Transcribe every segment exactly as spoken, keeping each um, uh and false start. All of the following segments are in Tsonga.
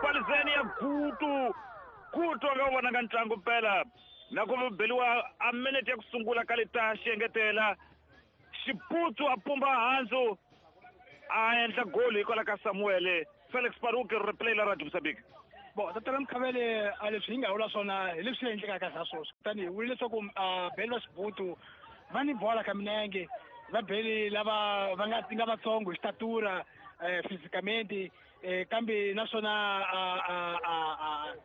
Balizeni ya Gutu. Gutu a nga vonanga ntlangu mpela. Na ku beliwa a minute ya ku sungula ka leta xiengetela. Xibutsu a pumba handzu a endla goli hikwalaho ka Samuel. Felix Paruke replay la Radio Mozambique. Bon, tatana Mkhavele a leswi hi nga vula swona hi leswi endlekaka swa sweswi. Kutani hi vule leswaku beli va Xibutu va ni bola ka minenge, va beli lava va nga nga vatsongo hi xitatura fisicamente, kambe naswona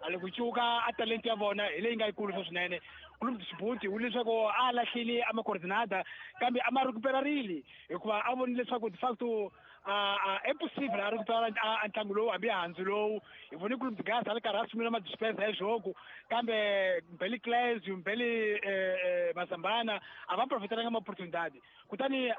a loko cuka a talent ya vona hi leyi nga yikulu swinene. Clube de Xibutu wu leswaku a lahlile a ma-coordinada kambe a ma recuperarile hikuva a vonile leswaku de facto é possível a recuperar a ntlangu lowu hambi handzu lowu. Hi vone Clube de Gaza a ri karhi a sungula ma-dispensa ya jogo kambe Mbeli Clésio, Mbeli Mazambana a va profiteranga ma-opportunidade. Kutani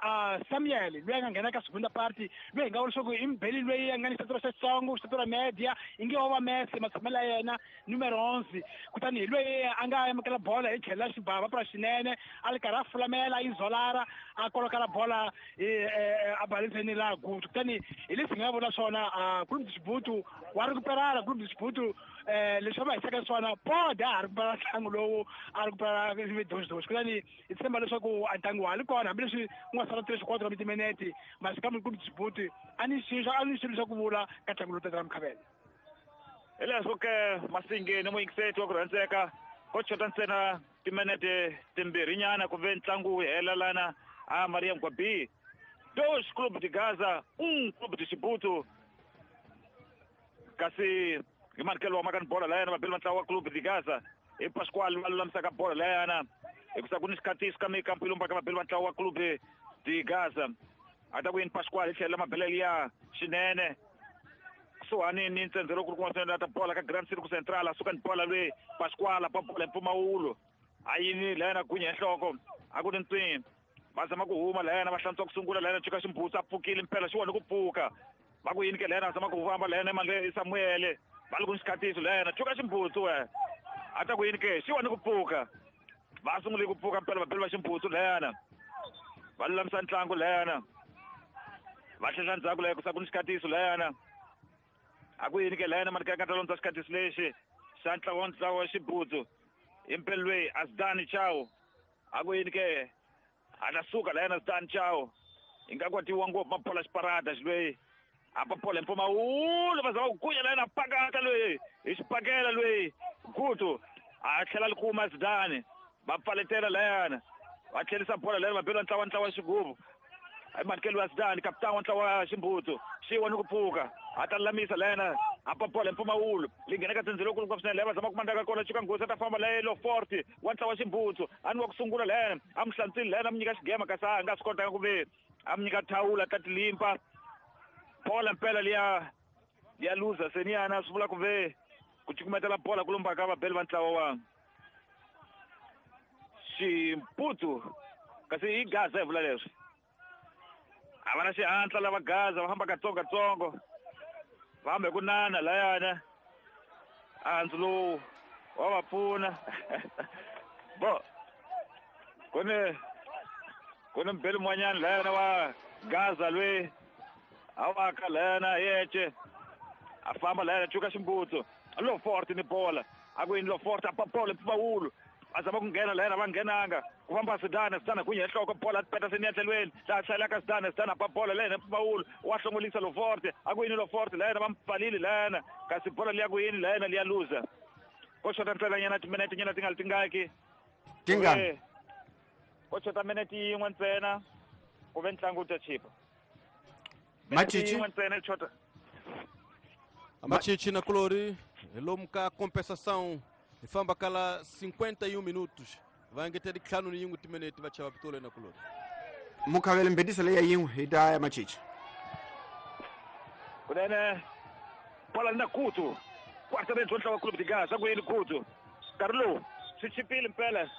Samuel loyi a nga nghena ka segunda parte loyi hi nga vula leswaku i Mbeli loyi a nga ni xitatura xitsongo, xitatura media, inge wo va Messi matshamelo ya yena numero onze. Kutani hi loyi a nga amukela bola hi tlhelo la xibava pra xinene a ri karhi a fulamela a izolara a kolokela bola a baliseni la Gutu. Kutani hi leswi hi nga vula swona Clube de Xibutu wa recuperala. Clube de Xibutu leswi va hisaka swona pode a ha recupera ntlangu lowu a recupera doxidoxi. Kutani hi tshemba leswaku a ntlangu wa ha ri kona hambileswi ku nga sala tres quatro timinete masi kambe Clube de Xibutu a ni xilo a ni xilo xa ku vula ka ntlangu lowu tatana Mkhavele. Hi leswo ke Masingeni muyingiseti wa ku rhandzeka ko chota ntsena timinete timbirhinyana ku ve ntlangu wu hela lana a Maria Mgwabi. Dois Clube de Gaza, um Clube de Xibutu. Kasi hi manikelo wa makani bola layana vabeli va ntlawa wa Clube de Gaza hi Pasquale va lulamisaka bola layana hikusa ku ni xikhatiso ka mikampu yi lombaka vabeli va ntlawa wa Clube de Gaza. A ta ku yini Pasquale hi tlhela mabelelo ya xinene kusuhani ni ntsendze loko ku ri kun'wana swinene ta bola ka Grand Circo Central a suka ni bola lweyi Pasquale pa bola hi mpfumawulo a yini layana gunya hi nhloko a ku ni ntswini va zama ku huma layana va hlantswa ku sungula layana cuka ximbutsu a pfukile mpela xi wona ku pfuka va ku yini ke layana zama ku famba layana emandle Samuel va ri ku ni xikhatiso layana cuka ximbutsu we a ta ku yini ke xi wona ku pfuka va sungule ku pfuka mpela vabeli va ximbutsu layana va lulamisa ntlangu layana va tlhela ndzhaku laya ku sa ku ni xikhatiso layana a ku yini ke layana mani ka ta londza xikhatiso lexi xa ntlawa wa ntlawa wa xibutsu hi mpela lweyi Asdani Chao a ku yini ke a ta suka layana Asdani Chao hi nga kwatiwa ngopfu mabola xiparada xilweyi a papola hi mpfumawulo va zama ku gunya layana pakata lweyi hi xipakela lweyi Gutu a tlhela li kuma Asdani va pfaletela layana va tlherisa bola layana va bela ntlawa ntlawa xigubu hi manikelo wa Asdani kapitani wa ntlawa wa ximbutsu xi wona ku pfuka a ta lulamisa layana a papola hi mpfumawulo li nghena ka tsindzilo lokulu ngopfu swinene laya va zama ku mandaka kona cuka nghozi a ta famba laya lo forte wa ntlawa wa ximbutsu a ni wa ku sungula layana a mu hlantswile layana a mu nyika xigema kasi a nga swi kotanga ku ve a mu nyika thawula ta tilimpa bola mpela liya liya luza seniyana swi vula ku ve ku cukumetela bola ku lombaka vabeli va ntlawa wa Ximputsu kasi i Gaza hi vula leswi a va na xihatla lava Gaza va famba katsongokatsongo va hamba hi ku nana layana handzu lowu wa va pfuna bo ku ni ku ni mbeli mun'wanyana layana wa Gaza lweyi a waka layana yece a famba layana cuka ximbutsu lo forte ni bola a ku yini lo forte a papola mpfumawulo a zama ku nghena layana va nghenanga ku famba Sidana Sidana gunya hi nhloko bola peta seni ya tlhelweni laha hlayelaka Sidana Sidana pa bola layana mpfumawulo wa hlongolisa lo forte a ku yini lo forte layana va mpfalile layana kasi bola liya ku yini layana liya luza ko xota ntsenanyana timinete nyana ti nga li tingaki tingani ko xota minete yin'we ntsena ku ve ntlangu wu ta chipa Machichi yin'we ntsena xota Machichi na Colori lomu ka compensação hi famba kala cinquenta e um minutos va engetela ntlhanu ni yin'we timinete va chava pitolo na Colori Mukhavele mbedisa leya yin'we hi ta ya Machichi kunene bola na Kutu quarta range wa ntlawa wa Clube de Gaza ku yini Kutu nkarhi lowu swi chipile mpela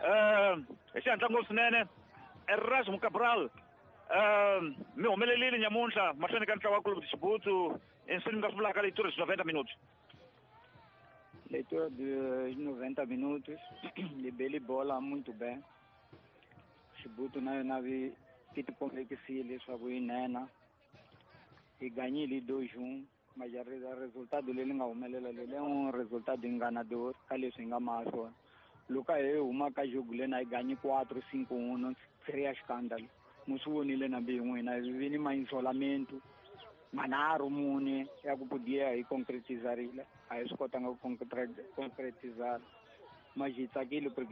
um hi xihatla ngopfu swinene Erasmo Cabral um mi humelelile nyamuntlha mahlweni ka ntlawa wa Clube de Xibutu inswini mi nga swi vulaka leyi tori noventa minutos. Leitura dos noventa minutos, libeli bola muito bem. Xibutu na yona vi ti tikomekisile leswaku yi nena. Hi ganyile dois um. Mas a resultado leri nga humelela leri i un resultado enganador ka leswi hi nga maha swona. Loko hi huma ka jogo lena hi ganyi quatro cinco um seria escândalo. Mu swi vonile na mbi n'wina hi vi ni ma-isolamento manharhu mune ya ku podia hi concretizarile a hi swi kotanga ku concretizar, mas hi tsakile porque